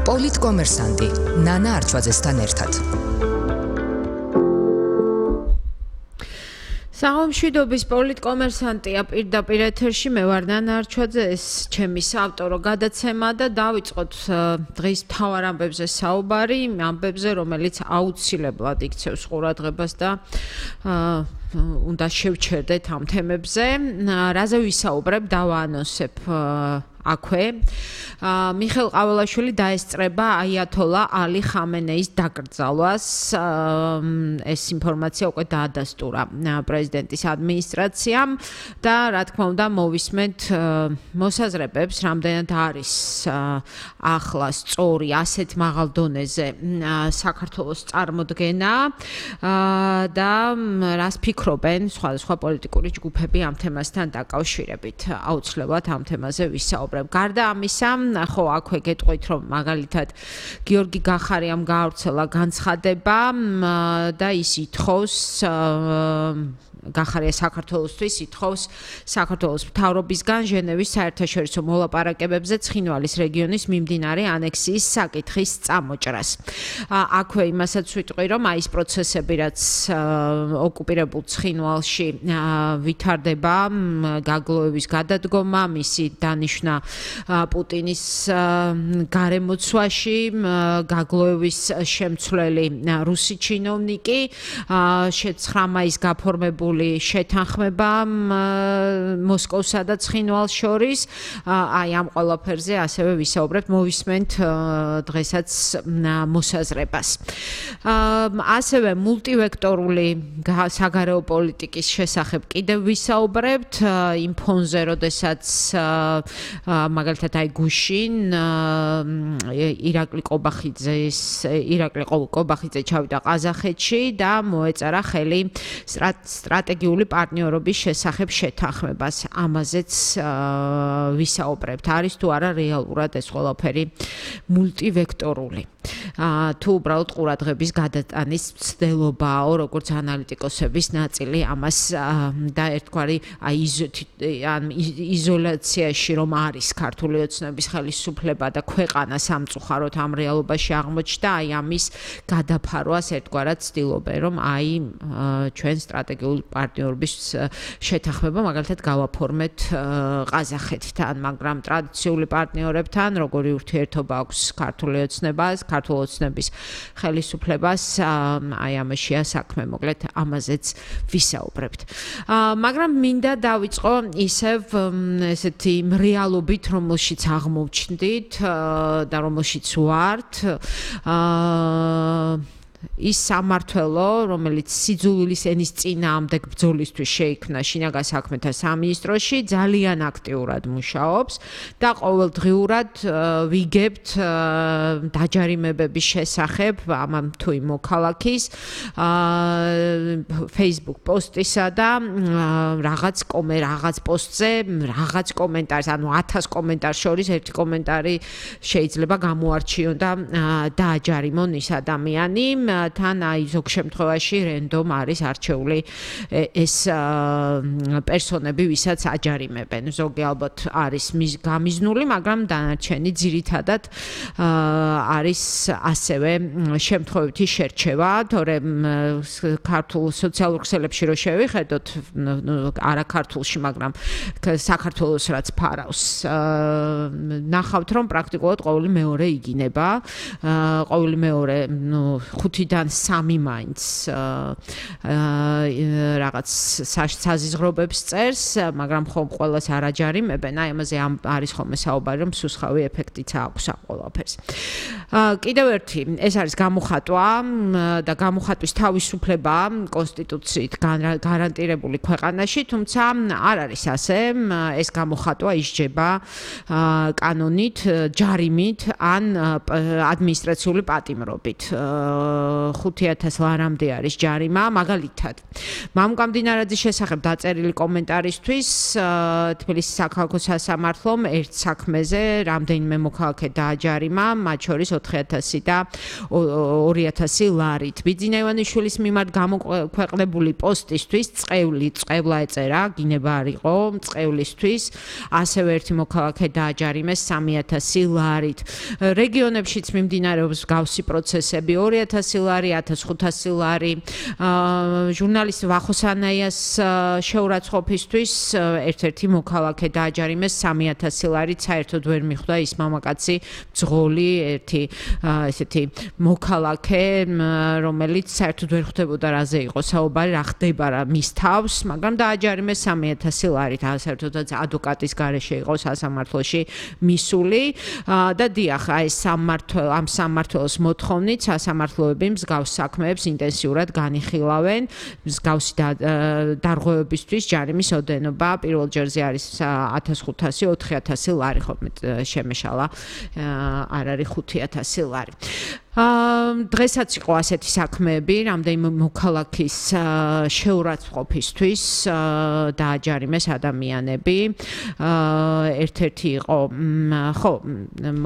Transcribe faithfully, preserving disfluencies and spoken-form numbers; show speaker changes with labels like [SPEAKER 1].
[SPEAKER 1] პოლიტკომერსანტი ნანა არჩვაძესთან ერთად.
[SPEAKER 2] საღამშვიდობის პოლიტკომერსანტია პირდაპირ ეთერში მე ვარ ნანა არჩვაძე, ეს ჩემი საავტორო გადაცემა და დავიწყოთ დღის მთავარ ამბებზე საუბარი, ამბებზე, რომელიც აუცილებლად იქცევს ყურადღებას და უნდა შევჩერდეთ ამ თემებზე. რაზე ვისაუბრებ, დავაანონსებ აქვე. მიხეილ ყაველაშვილი დაესწრება აიათოლა ალი ხამენეის დაკრძალვას. ეს ინფორმაცია უკვე დაადასტურა პრეზიდენტის ადმინისტრაციამ და რა თქმა უნდა მოვისმენთ მოსაზრებებს, რამდენად არის ახლა სწორი ასეთ მაღალ დონეზე საქართველოს წარმოდგენა და რას ფიქრობენ სხვადასხვა პოლიტიკური ჯგუფები ამ თემასთან დაკავშირებით. აუცილებლად ამ თემაზე ვისაუბრებ. გარდა ამისა, ხო, აქვე გეტყვით, რომ მაგალითად გიორგი გახარიამ გაავრცელა განცხადება და ის ითხოვს გახარია საქართველოსთვის ითხოვს საქართველოს მთავრობისგან ჟენევის საერთაშორისო მოლაპარაკებებზე ცხინვალის რეგიონის მიმდინარე ანექსიის საკითხის წამოჭრას. აქვე იმასაც ვიტყვი, რომ აი ეს პროცესები, რაც ოკუპირებულ ცხინვალში ვითარდება, გაგლოების გადადგომა, მისი დანიშვნა პუტინის გარემოცვაში, გაგლოების შემცვლელი რუსი ჩინოვნიკი, ცხრა მაისს გაფორმებული შეთანხმება მოსკოვსა და ცხინვალს შორის, აი ამ ყველაფერზე ასევე ვისაუბრებთ, მოვისმენთ დღესაც მოსაზრებას. ასევე მულტივექტორული საგარეო პოლიტიკის შესახებ კიდევ ვისაუბრებთ, იმ ფონზე, როდესაც მაგალითად აი გუშინ ირაკლი ყობახიძეს ირაკლი ყობახიძე ჩავიდა ყაზახეთში და მოეწერა ხელი სტრატეგიული პარტნიორობის შესახებ შეთანხმებას. ამაზეც ვისაუბრებთ. არის თუ არა რეალურად ეს ყველაფერი მულტივექტორული. თუ უბრალოდ ყურადღების გადატანის მცდელობაო, როგორც ანალიტიკოსების ნაწილი ამას და ერთგვარი იზოლაციაში რომ არის ქართული ოცნების ხელისუფლება და ქვეყანა სამწუხაროდ ამ რეალობაში აღმოჩნდა, აი ამის გადაფარვას ერთგვარად ცდილობენ, რომ აი ჩვენ სტრატეგიული პარტნიორობის შეთანხმება მაგალითად გავაფორმეთ ყაზახეთთან, მაგრამ ტრადიციული პარტნიორებთან როგორი ურთიერთობა აქვს ქართული ოცნებას, ქართული ოცნების ხელისუფლებას, აი ამაშია საქმე, მოკლედ ამაზეც ვისაუბრებთ. მაგრამ მინდა დავიწყო ისევ ესეთი რეალობით, რომელშიც აღმოვჩნდით და რომელშიც ვართ. ის სამმართველო, რომელიც სიძულვილის ენის წინააღმდეგ ბრძოლისთვის შეიქმნა შინაგან საქმეთა სამინისტროში, ძალიან აქტიურად მუშაობს და ყოველდღიურად ვიგებთ დაჯარიმებების შესახებ ამ თუ იმ მოქალაქის Facebook პოსტისა და რაღაც კომე რაღაც პოსტზე რაღაც კომენტარს, ანუ ათას კომენტარს შორის ერთი კომენტარი შეიძლება გამოარჩიონ და დააჯარიმონ ის ადამიანი. თან აი ზოგ შემთხვევაში რენდომ არის არჩეული ეს პერსონები, ვისაც აჯარიმებენ. ზოგი ალბათ არის გამიზნული, მაგრამ დანარჩენი ძირითადად არის ასევე შემთხვევითი შერჩევა, თორემ ქართულ სოციალურ ქსელებში რო შევიხედოთ, არა ქართულში, მაგრამ საქართველოს რაც ფარავს, ნახავთ, რომ პრაქტიკულად ყოველი მეორე იგინება, ყოველი მეორე ხუთიდან სამი მაინც რაღაც საზიზღრობებს წერს, მაგრამ ხომ ყველას არ აჯარიმებენ, აი ამაზე არის ხოლმე საუბარი, რომ სუსხავი ეფექტიც აქვს ამ ყველაფერს. კიდევ ერთი, ეს არის გამოხატვა და გამოხატვის თავისუფლება კონსტიტუციით გარანტირებული ქვეყანაში, თუმცა არ არის ასე, ეს გამოხატვა ისჯება კანონით, ჯარიმით ან ადმინისტრაციული პატიმრობით. ხუთი ათას ლარამდე არის ჯარიმა, მაგალითად. მამუკა მდინარაძის შესახებ დაწერილი კომენტარისთვის თბილისის საქალაქო სასამართლომ ერთ საქმეზე რამდენიმე მოქალაქე დააჯარიმა, მათ შორის ოთხი ათასი და ორი ათასი ლარით. ბიძინა ივანიშვილის მიმართ გამოქვეყნებული პოსტისთვის წყევლი წყევლა ეწერა, გინება არ იყო წყევლისთვის, ასევე ერთი მოქალაქე დააჯარიმეს სამი ათასი ლარით. რეგიონებშიც მიმდინარეობს მსგავსი პროცესები, ორი ათასი ლარი, ათას ხუთასი ლარი. ჟურნალისტ ვახოსანაიას შეურაცხყოფისთვის ერთ-ერთი მოქალაქე დააჯარიმეს სამი ათასი ლარით, საერთოდ ვერ მიხვდა ის მამაკაცი ბძღოლი, ერთი ესეთი მოქალაქე, რომელიც საერთოდ ვერ ხვდებოდა რაზე იყო საუბარი, რა ხდება რა მის თავს, მაგრამ დააჯარიმეს სამი ათასი ლარით, საერთოდაც ადვოკატის გარეშე იყო სასამართლოში მისული და დიახ, აი სამმართველო ამ სამმართველოს მოთხოვნით სასამართლოები მსგავს საქმეებს ინტენსიურად განიხილავენ, მსგავსი დარღვევებისთვის ჯარიმის ოდენობა პირველ ჯერზე არის ათას ხუთასი, ოთხი ათასი ლარი, ხოლმე შემეშალა არ არის ხუთი ათასი ლარი. დღესაც იყო ასეთი საქმეები, რამდენიმე მოქალაქის შეურაცხყოფისთვის დააჯარიმეს ადამიანები. ერთ-ერთი იყო, ხო,